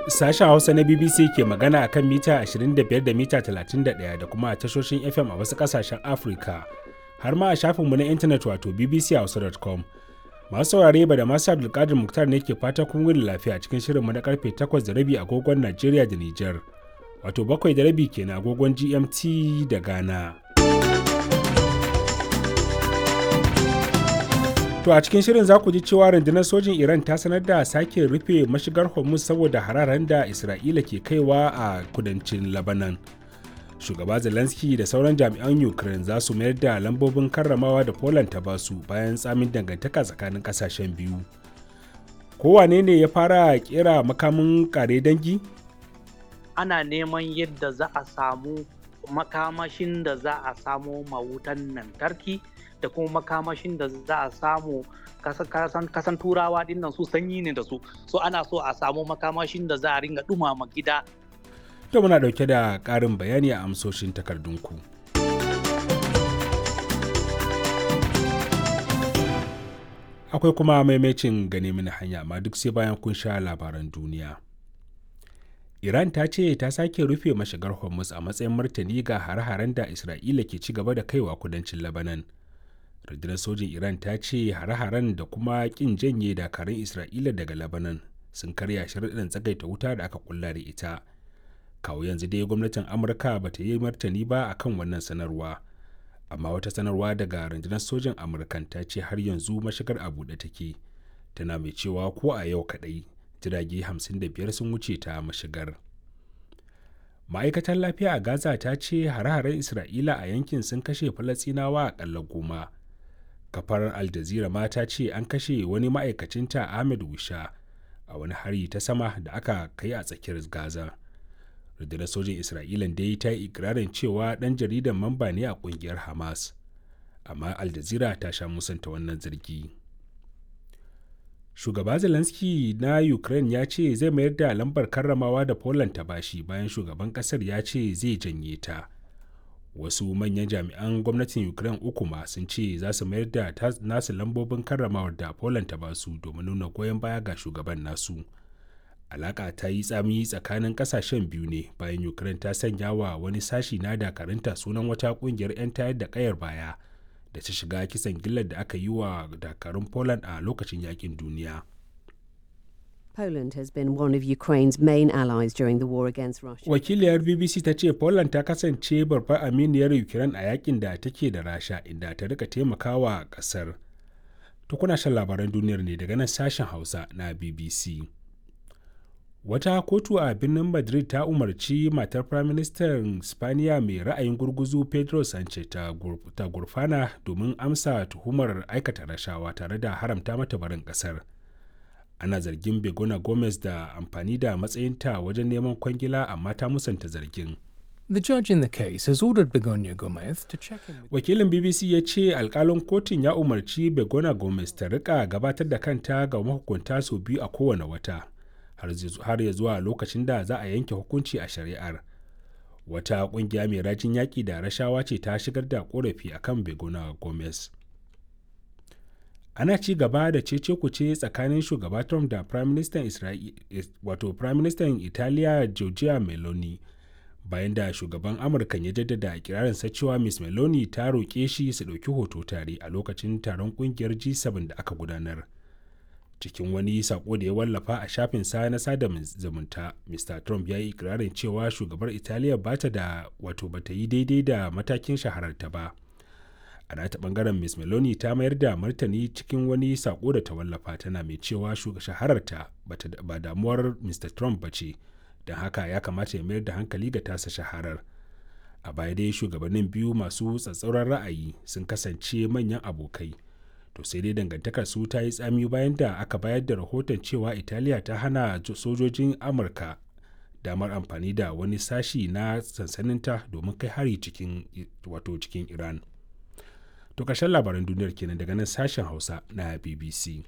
Sashen Hausa na BBC ke magana a kan mita 25 da mita 31 da kuma a tashoshin FM a wasu ƙasashen Afirka, har ma a shafinmu na intanet wato bbchausa.com. Masu saurare ba da masu Abdulkadir Muktar ne ke fata kun wuni lafiya cikin shirinmu na karfe 8:30 agogon Najeriya da Nijar, wato 7:30 kenan agogon GMT da Ghana. To a cikin shirin za ku ji cewa rundunar sojin Iran ta sanar da sake rufe mashigar Hormuz saboda hararen da Isra'ila ke kaiwa a kudancin Lebanon. Shugaba Zelensky da sauran jami'an Ukraine za su mayar da lambobin karramawa da Poland ta basu bayan tsamin dangantaka tsakanin kasashen biyu. Kowane ne ya fara kera makamin kare dangi? Ana neman yadda za a samu makamashin da za a samo mawutan lantarki da kuma makamashin da za a samu kasan turawa dinnan su sanyi ne da su, so ana so a samu makamashin da za a ringa dumama gida. To muna dauke da ƙarin bayani a amsoshin takardunku. Akwai kuma maimacin gane mini hanya, amma duk sai bayan kun sha labaran duniya. Iran ta ce ta sake rufe mashigar Hormuz a matsayin martani ga hare-haren da Isra'ila ke ci gaba da kaiwa kudancin Lebanon. Rundunar sojin Iran ta ce hare-haren da kuma kin janye dakarun Isra'ila daga Lebanon sun karya sharuɗan tsagaita wuta da aka kulla da ita. Kawo yanzu dai gwamnatin Amurka ba ta yi martani ba akan wannan sanarwa. Amma wata sanarwa daga rundunar sojin Amurkan ta ce har yanzu mashigar a buɗe take. Tana mai cewa ko a yau kaɗai jirage 55 sun wuce ta mashigar. Ma'aikatar lafiya a Gaza ta ce hare-haren Isra'ila a yankin sun kashe Falasɗinawa aƙalla 10. Kafar Al Jazeera ma ta ce an kashe wani ma'aikacinta Ahmed Wisha a wani hari ta sama da aka kai a tsakiyar Gaza. Rundunar sojin Isra'ilan dai ta yi ikirarin cewa ɗan jaridan mamba ne a ƙungiyar Hamas. Amma Al Jazeera ta sha musanta wannan zargi. Shugaba Zelensky na Ukraine ya ce zai mayar da lambar karramawa da Poland ta bashi bayan shugaban kasar ya ce zai janye ta. Wasu manyan jami'an gwamnatin Ukraine uku ma sun ce za su mayar da nasu lambobin karramawar da Poland ta basu domin nuna goyon baya ga shugaban nasu. Alaka ta yi tsami tsakanin kasashen biyu ne bayan Ukraine ta sanya wa wani sashi na dakarunta sunan wata kungiyar 'yan tayar da kayar baya da ta shiga kisan gillar da aka yi wa dakarun Poland a lokacin yakin duniya. Poland has been one of Ukraine's main allies during the war against Russia. Wakiliyar BBC ta ce Poland ta kasance babbar aminiyar Ukraine a yakin da take da Rasha, inda ta rika taimakawa kasar. To kuna shan labaran duniyar ne daga nan sashen Hausa na BBC. Wata kotu a birnin Madrid ta umarci matar Firaministan Spaniya mai ra'ayin gurguzu Pedro Sanchez ta gurfana domin amsa tuhumar aikata rashawa tare da haramta mata barin kasar. Ana zargin Begona Gomez da amfani da matsayinta wajen neman kwangila, amma ta musanta zargin. The judge in the case has ordered Begonia Gomez to check in with Wakilin BBC ya ce alkalin kotun ya umarci Begona Gomez ta rika gabatar da kanta ga mahukunta sau biyu a kowane wata, har ya zuwa lokacin da za a yanke hukunci a shari'ar. Wata kungiya mai rajin yaƙi da rashawa ce ta shigar da korafi akan Begona Gomez. Ana ci gaba da cece kuce tsakanin shugaba Trump da Prime Minister wato Prime Minister Italiya Giorgia Meloni, bayan da shugaban Amurka ya jaddada ikirarinsa cewa Ms Meloni ta roƙe shi su ɗauki hoto tare a lokacin taron ƙungiyar G7 da aka gudanar. Cikin wani sako da ya wallafa a shafin sa na sada zumunta, Mr Trump ya yi ikirarin cewa shugabar Italiya ba ta da wato ba ta yi daidai da matakin shahararta ba. A nata bangaren, Ms Meloni ta mayar da martani cikin wani sako da ta wallafa, tana mai cewa shahararta ba damuwar Mr Trump ba ce, don haka ya kamata ya mayar da hankali ga tasa shaharar. A baya dai shugabannin biyu masu tsatsauran ra'ayi sun kasance manyan abokai. To sai dai dangantakar su ta yi tsami bayan da aka bayar da rahoton cewa Italiya ta hana sojojin Amurka damar amfani da wani sashi na sansaninta domin kai hari cikin wato cikin Iran. To ƙarshen labaran duniyar kenan daga nan sashen Hausa na BBC.